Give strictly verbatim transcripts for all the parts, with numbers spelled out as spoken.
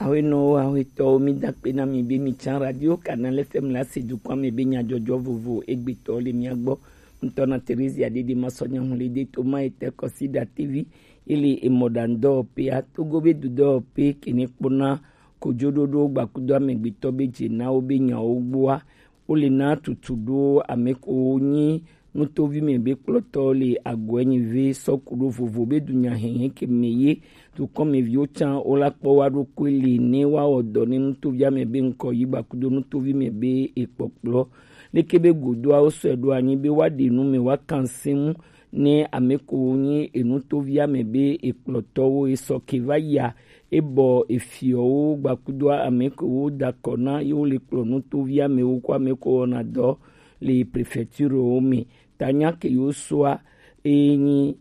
Awenɔwo, awetɔwo, mi da akpe na mi be mi can Radio Canal F M la se dukɔa me be nyajɔjɔ vovo egbetɔ le mia gbɔ. Ŋutɔ na Theresia Dede Masɔnya Hulede Toma etɛ Kɔsida T V, ele emɔɖaŋudɔwɔƒea, Togo be dudɔwɔƒe kene kpɔna kojoɖoɖo gbakudo amegbetɔ be dze na wo be nyawo gbɔa, wo le na tutu ɖo ame ko nyi nutovi me be kplɔtɔ le agɔe nyi ve sɔ ku ɖo vovo be dunya hɛhɛ ke me ye dukɔmeviwo can wo la kpɔ wa ɖokui li ne wa wɔ dɔ ne nutovia me be ŋkɔ yi gbakudo nutovi me be ekpɔkplɔ. Leke be godoa wo sɔe ɖo anyi be wa ɖe nu me wa kan se mu ne ame ko nyi enutovia me be ekplɔtɔwo esɔ ke va yia ebɔ efiɔwo gbakudo ame ko wo dakɔ na ye wo le kplɔ nutovia me wo ko ame ko wɔna dɔ le prefecture wo me. Tanya ke yo soa e nyi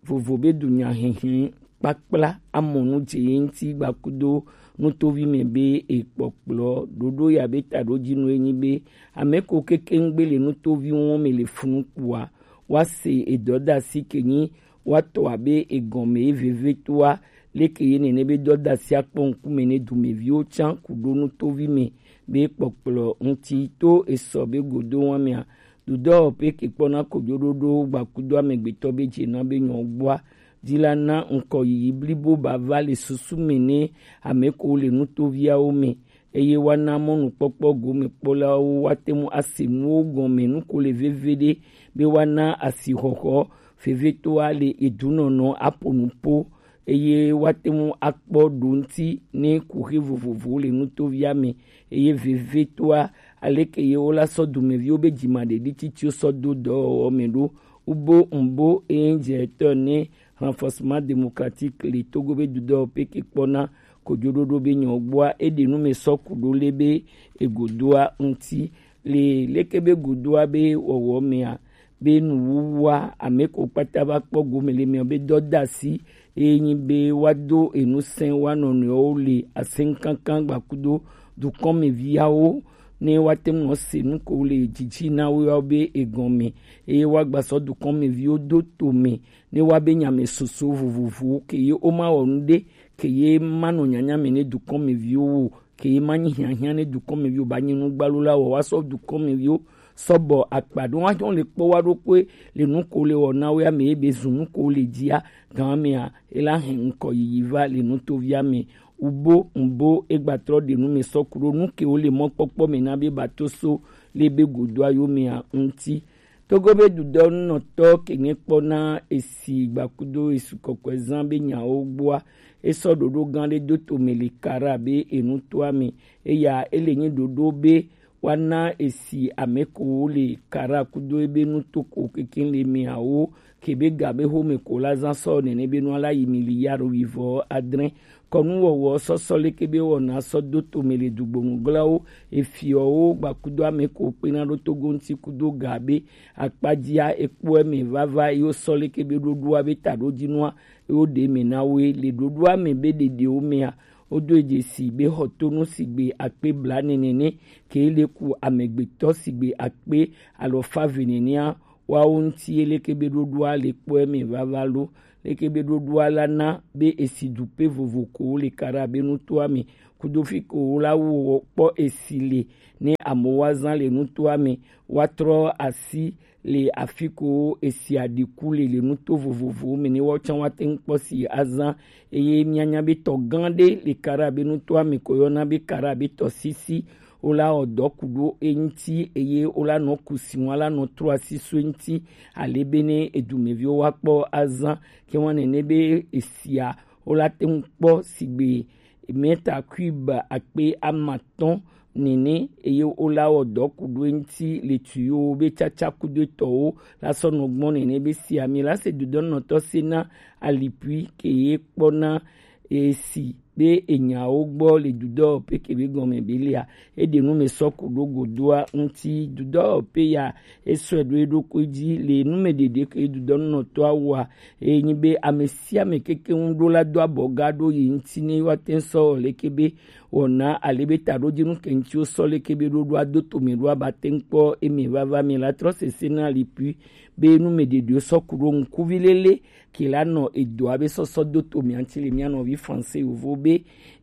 vovo be dunya hɛhɛ kpakpla amɔnu dze ye ŋuti gbakudo nutovi me be ekpɔkplɔ ɖoɖo ya be taɖo dzi nu enyi be ame ko kekeŋgbe le nutovi wɔn me le funu kpua wa se edɔdasi ke nyi wa tɔ abe egɔme ye veve toa leke ye nene be dɔdasi akpɔ ŋkume ne dumeviwo can ku ɖo nutovi me be kpɔkplɔ ŋuti to esɔ be godo wa mea. Dudɔ pe ke kpɔna kojoɖoɖo gbakudo amegbetɔ be dze na be nyɔ gbɔa dzi la na ŋkɔ yiyi blibo ba va le susu me ne ame ko le nutoviawo me eye wa na mɔnukpɔkpɔ gomekpɔlawo wa te mu ase nuwo gɔme nu ko le veve ɖe be wa na asixɔxɔ vevetoa le edunɔnɔ aƒo nu po eye woate ŋu akpɔ ɖo ŋuti ne kuxi vovovowo le nutovia me eye vevitɔa aleke ye wola sɔ dumeviwo be dzimaɖeɖi tsitsiwo sɔ do dɔwɔwɔ me ɖo. Ubo ŋbo eye dze etɔ ne renforcement démocratique le Togo be dudɔ pe ke kpɔna kojoɖoɖo be nyɔ gbɔa eɖe nu me sɔ ku ɖo le be egodoa ŋuti le leke be godoa be wɔwɔ mea be nuwuwua ame ko kpata va kpɔ gome le mia be dɔdasi eye nyi be wa do enu sɛn wa nɔnɔewo le asɛnkankan gbakudo dukɔmeviawo ne wa te ŋu se nu ko le dzidzi na wo yawo be egɔme eye wa gba sɔ dukɔmeviwo do to me ne wa be nyame soso vovovowo ke ye wo ma wɔ nu ɖe ke ye ma nɔ nyanya me ne dukɔmeviwo wo ke ye ma nyi hiahiã ne dukɔmeviwo ba nyi nu gbalo la wɔ wa sɔ dukɔmeviwo sɔbɔ akpa ɖo wa hɔn le kpɔ wa ɖokpe le nu ko le wɔ na wo ya me ye be zu nu ko le dzia gan mea ela hɛn ŋkɔ yiyi va le nutovia me ubo ŋbo egbatrɔ ɖe nu me sɔ ku ɖo nu ke wo le mɔkpɔkpɔ me na be bato so le be godoa yo mea ŋuti. Togo be dudɔnunɔtɔ ke nye kpɔna esi gbakudo esu kɔkɔe zã be nyawo gbɔa esɔ ɖoɖo gã ɖe do tome le Kara be enutoa me eya ele nye ɖoɖo be woana esi ame kowo le Kara kudo ebe nutoko kekeŋ le meawo ke be ga be home ko la zã sɔ nene be nua la yi miliyari wuivɔ adre. Kɔnuwɔwɔ sɔsɔ leke be wɔna sɔ do tome le dugbonu glawo efiɔwo gbakudo ame ko kpena ɖo Togo ŋuti kudo ga be akpadzia ekpɔe me vava ye wosɔ leke be ɖoɖoa be taɖodzinua ye woɖe me na wo ye le ɖoɖoa me be ɖeɖewo mea wodo dzesi be xɔtonu sigbe akpe blaene nene ke le ku amegbetɔ sigbe akpe alɔfa eve nenea woawo ŋuti ye leke be ɖoɖoa le kpɔe me vava lo leke be ɖoɖoa la na be esi dupe vovo ko le Kara be nutoa me kudo fi ko wo la wo kpɔ esi le ne amewo azã le nutoa me woatrɔ asi le afi ko esi aɖi ku le le nuto vovovowo me ne woawo tsã woate ŋu kpɔ si azã eye míanya be tɔ gã ɖe le Kara be nutoa me ko yɔna be Kara be tɔsisi wola wɔ dɔ ku ɖo eŋuti eye wola nɔ kusi ŋu ala nɔ trɔ asi so eŋuti ale be ne edumeviwo woakpɔ azã ke ŋua nene be esia wola te ŋu kpɔ sigbe mita cube akpe amatɔ̃ nene eye wola wɔ dɔ ku ɖo eŋuti le tuyo be tsatsa kudo etɔwo la sɔ nɔ gbɔ nene be si ami la se dodɔnɔtɔ se na alipui ke ye kpɔna esi be enyawo gbɔ le dudɔ pe ke be gɔme be lia eɖe nu me sɔ ku ɖo godoa ŋuti dudɔ pe ya esɔe ɖo eɖokui dzi le nu me ɖeɖe ke dudɔnɔtɔa wɔa eye nyi be ame sia ame keke ŋu ɖo la do abɔ ga ɖo yi ŋuti ne yewoate ŋu sɔ wɔ leke be wɔna ale be taɖodzinu ke ŋuti wosɔ leke be ɖoɖoa do tome ɖoa bate ŋu kpɔ eme vava me la trɔ sese na lipui be nu me ɖeɖewo sɔ ku ɖo ŋkuvi lele ke la nɔ edɔa be sɔsɔ do to mia ŋuti le mia nɔvi français yovo be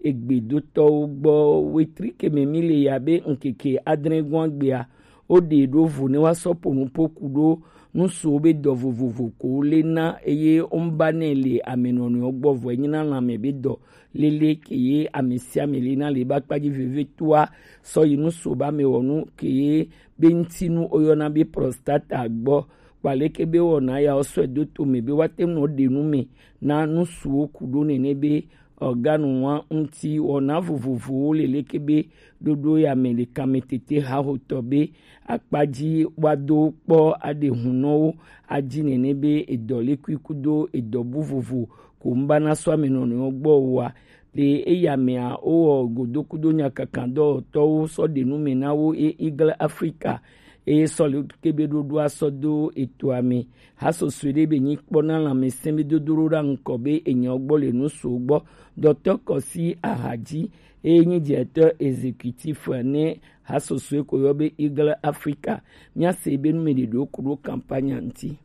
egbedotɔwo gbɔ. Wetrikeme mi le ya be ŋkeke adrɛngɔn gbea, wo ɖe ɖo vo ne wa sɔ po nupo ku ɖo nusuwo be dɔ vovovo ko le na eye wo ba nɛ le amenɔnɔewo gbɔ vɔ enyi na lanmɛ be dɔ lele ke ye ame sia ame le na le ba kpadzi vevetoa sɔ yi nusuwo ba me wɔnu ke ye be ŋutinu woyɔna be prostata gbɔ. Kpaleke be wɔna ya wosɔe do to me be woate ŋu nɔ ɖe nu me na nusuwo ku ɖo nene be organe wa ŋuti wɔna vovovowo le leke be ɖoɖo ya me le kame tete hahotɔ be akpadzi woado kpɔ aɖe hunɔwo adzi nene be edɔ lekui kudo edɔ bu vovo ko ŋu ba na sɔ ame nɔnɔewo gbɔ oa. Le eya mea, wowɔ godokudo nyakakadɔwɔtɔwo sɔ ɖe nu me na wo e Eagle Africa eye sɔ le kebe ɖoɖoa sɔ do etoa me. Hasɔsɔe ɖe be nyi kpɔ na lãmesẽ be dodo ɖo ɖa ŋkɔ be enyawo gbɔ le nu so gbɔ. Dɔtɔ Kɔsi Ahadzi eye nyi directeur exécutif ne hasɔsɔe ko yɔ be Eagle Africa. Míase be nu me ɖeɖewo ku ɖo campagne ŋuti.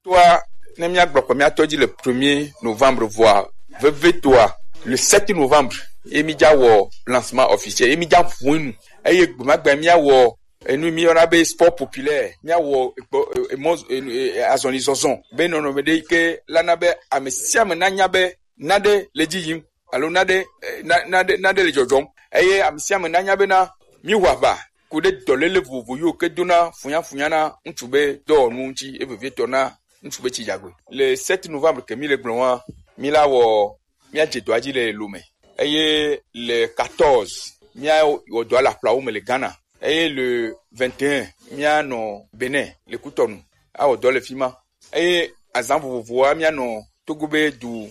Toa ne míagblɔ kɔ míatɔ dzi le premier novembre vɔa veve toa le sept novembre ye mídza wɔ lancement officiel ye mídza ʋu enu eye gbemagbe míawɔ enu míyɔna be sport populaire míawɔ ekpɔ emɔ azɔli zɔzɔ be nɔnɔme ɖe yi ke lana be ame sia ame nanya be naɖe le dzi yim alo naɖe eh, na- naɖe naɖe le dzɔdzɔm eye ame sia ame nanya bena míwɔ aʋa ku ɖe dɔléle vovovo yiwo ke dona funyafunya na ŋutsu be dɔwɔnu ŋuti eye vevietɔ na ŋutsu be tsidzagbe. Le sept novembre ke mi le gblɔ wa, mi la wɔ míadze dɔa dzi le Lome eye le quatorze míawɔ dɔa le aƒlawo me le Ghana eye le vingt et un míanɔ Benin le Kutɔnu awɔ dɔ le fi ma. Eye azã vovovoa míanɔ Togo be du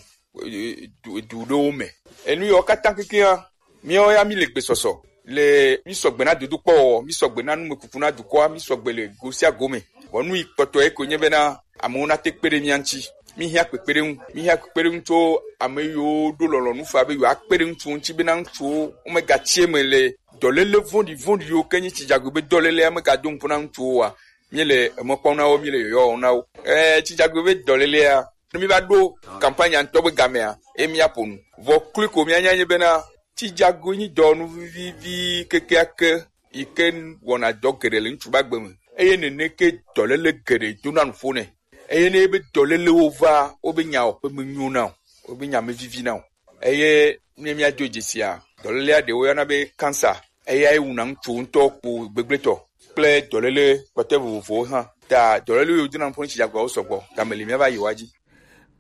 du du ɖewo me. Enu yawo katã kekeŋa míawo ya míle gbesɔsɔ le mísɔgbe na dodokpɔwɔwɔ, mísɔgbe na numekuku na dukɔa, mísɔgbe le go sia go me. Vɔ nu yi kpɔtɔe koe nye bena amewo nate kpe ɖe mía ŋuti. Míhiã kpekpeɖeŋu, míhiã kpekpeɖeŋu tso ame yiwo ɖo lɔlɔ̃nu faa be yewoakpe ɖe ŋutsuwo ŋuti bena ŋutsuwo womegatsi eme le dɔléle vɔ̃ɖi vɔ̃ɖiwo ke nyi tsidzagbe be dɔlélea megado ŋukpe na ŋutsuwo oa, míele emɔ kpɔm na wo, míele yɔyɔ wɔm na wo. Ɛɛ, tsidzagbe be dɔlélea, ne míva ɖo kampanya ŋutɔ be gamea, ye míaƒo nu. Vɔ kloe ko míanya nye bena, tsidzagbe nyi dɔwɔnu vivivi kekeake yi ke wɔna dɔ geɖe le ŋutsu be agbe me. Eye nene ke dɔléle geɖe dona nuƒo nɛ. Eye ne be dɔlélewo va, wobe nyawo ƒe menyo na o, wobe nya mevivi na o. Eye ne míado dzesia, dɔlélea ɖewo yɔna be kansa, eyae wuna ŋutsu ŋutɔ kpo gbegblẽtɔ kple dɔléle kpɔtɔe vovovowo hã. Ta dɔléle yiwo dona ŋkɔ ŋuti dzagbeawo sɔgbɔ, game li míava yi woa dzi.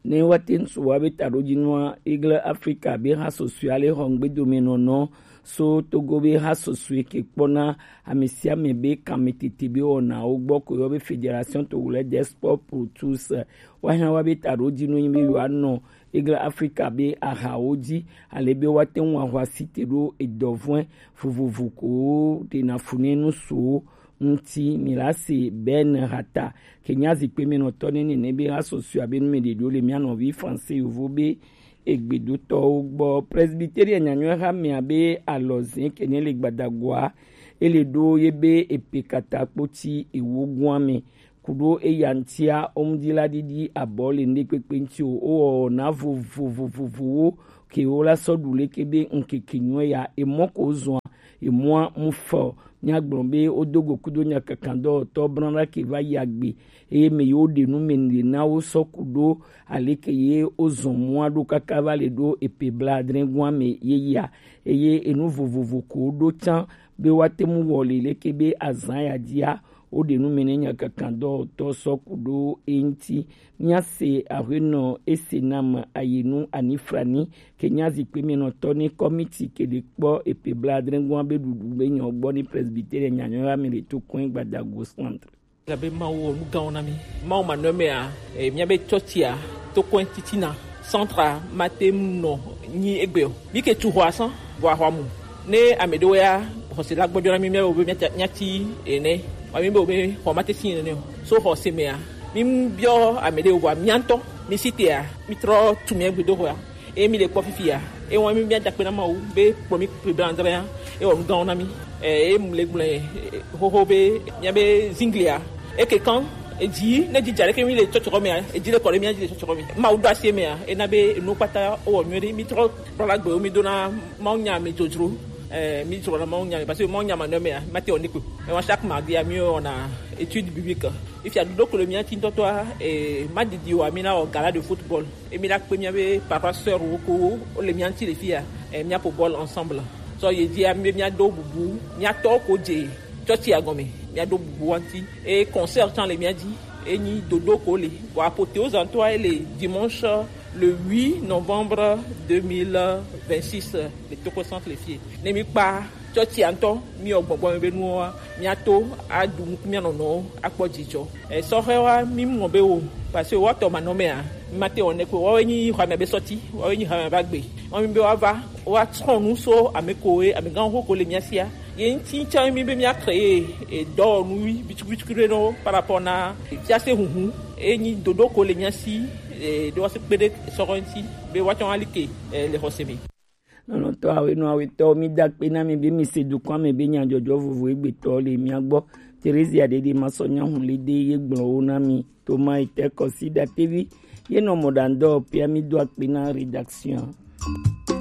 Ne woate ŋu su woabe taɖodzinua, Eagle Africa be hasɔsɔe ale xɔ ŋgbedomenɔnɔ so Togo be hasɔsɔe ke kpɔna ame sia ame be kametete be wɔnawo gbɔ ko yɔ be Fédération Togolaise des Sports pour tous. Woahiã woabe taɖodzinue nyi be yewoanɔ Eagle Africa be ahawo dzi, ale be woate ŋu ahɔ asi te ɖo edɔvɔ̃e vovovo ko ɖena fu ne nusuwo ŋuti. Mi la se Ben Hata, ke nya zikpe me nɔtɔ ne nene be hasɔsɔe abe nu me ɖeɖo le mía nɔvi français yovo be egbedotɔwo gbɔ. Presbyteria nyanyɔe ha mea be alɔze ke ne le gbadagoa, ele ɖo ye be epe katakpo ti ewo gua me. Ku ɖo eya ŋutia, wo ŋdi la ɖiɖi abɔ le ŋɖekpekpe ŋuti o. Wowɔ wɔna vovovovovowo ke wo la sɔ ɖu leke be ŋkeke nyuie ya. Emɔ ko zɔa, emɔa mu fɔ. Míagblɔ be wodo go kudo nyakakadɔwɔtɔ blana ke va yi agbe. Eye me yiwo ɖe nu me le na wo sɔ ku ɖo aleke ye wozɔ mɔa ɖo kaka va le ɖo epe blaadre gua me ye ya. Eye enu vovovo ko woɖo tsã be woate ŋu wɔ le leke be azã ya dzia, woɖe nu me ne nyakakadɔwɔtɔ sɔ ku ɖo eŋuti. Míase aƒenɔ Esenam Ayinu Anifrani ke nya zikpui me nɔtɔ ne kɔmiti ke ɖe kpɔ epe blaadre gɔa be ɖuɖu be nyɔ gbɔ ne Presbyterian nyanyɔla me le to kɔe gbadago centre. Elabe Mawu wɔ nu gãwo na mí. Mawu manɔmea, eh, míabe tsɔtsia, tokɔe titina, centre mate ŋu nɔ nyi egbe o. Mí ke tu xɔa sã, vɔ axɔa mu. Ne ame ɖewo ya xɔse la gbɔdzɔ na mí, míabe wobe míatsi ene. Wa mí be wobe xɔ mate si ene o. So xɔse mea, mí biɔ ame ɖewo vɔa mía ŋutɔ mí si tea, mí trɔ tu mía gbedoxɔa. Eye mí le kpɔ fifia, eye wɔn mí mía da akpe na Mawu be kplɔ mí kpli bla adre ya, eye wɔ nu gãwo na mí. Eye mu le gblɔe xoxo be míabe zinglia eke kan Edzi ne dzi dza ɖeke mi le tsɔtsɔkɔ mea, edzi le kɔ ɖe mía dzi le tsɔtsɔkɔ me. Mawu ɖo asi emea, ena be enu kpata wowɔ nyuie ɖe. Mi trɔ kplɔ la gbewo mi dona Mawu nya me dzodzro. Eh, mi dzro na Mawu nya me, parce que Mawu nya manɔ mea, ma te wɔ ne ko. Mais chaque mardi a mi wɔna étude biblique. Ifia ɖoɖo ko le mía ti ŋutɔtɔa, eh, ma didi wa mi na wɔ gala de football. Emi la kpe miabe papa sœur wo ko wo le mía ŋuti le fia, eh, mía ƒo bɔl ensemble. Sɔ ye dzi ame mía do bubu, mía tɔ ko dze tsɔtsi agɔme, mía do bubu wa ŋuti. Et concert tsã le mía dzi, enyi dodo ko le. Bon, apothéose ŋutɔa ele dimanche le huit novembre deux mille vingt-six le Toko Centre le fie. Ne mi kpa tsɔtsia ŋutɔ, mi wɔ gbɔgbɔ me be nuwoa, mía to aɖu nuku mía nɔnɔwo akpɔ dzidzɔ. Esɔhɛwoa, mi mɔ be wo, parce que woatɔ manɔmea, mi ma te wɔ ne ko. Woawoe nyi xɔa mea be sɔti, woawoe nyi xɔa mea be agbe. Woa mi be woava, woatrɔ nu so ame koe, amegãwo ko le mía sia. Ye ŋuti tsã mi be mía créer, e, dɔwɔnu bitukubitukui ɖe nɔ par rapport na fiase huhu. Enyi dodo ko le mía si, e, ɖo wase kpe ɖe sɔhɛ ŋuti be woatsɔ alike, e, le xɔse me. Lɔlɔ̃tɔ awenɔ awetɔwo, mi da akpe na mi be mi se dukɔa me be nyadzɔdzɔ vovo egbetɔ le mia gbɔ. Theresia Dede Masɔ Nyahun le de ye gblɔ wo na mi. Thomas Ete Kɔsi Datevi ye nɔ mɔɖaŋudɔ pia, mi do akpe na rédaction.